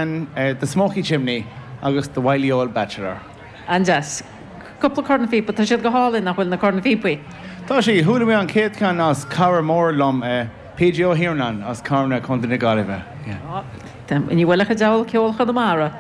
Man, The Smoky Chimney agus The Wily Old Bachelor. An-deas. Cúpla cornphíopa, tá siad go hálainn, nach bhfuil, na cornphíopaí? Tá siad. Chuala mé an chéad cheann as cara mór liom, PJ Ó hIarnáin as Carna, Contae na Gaillimhe. Ní bhfuil ach an diabhal ceol Chonamara.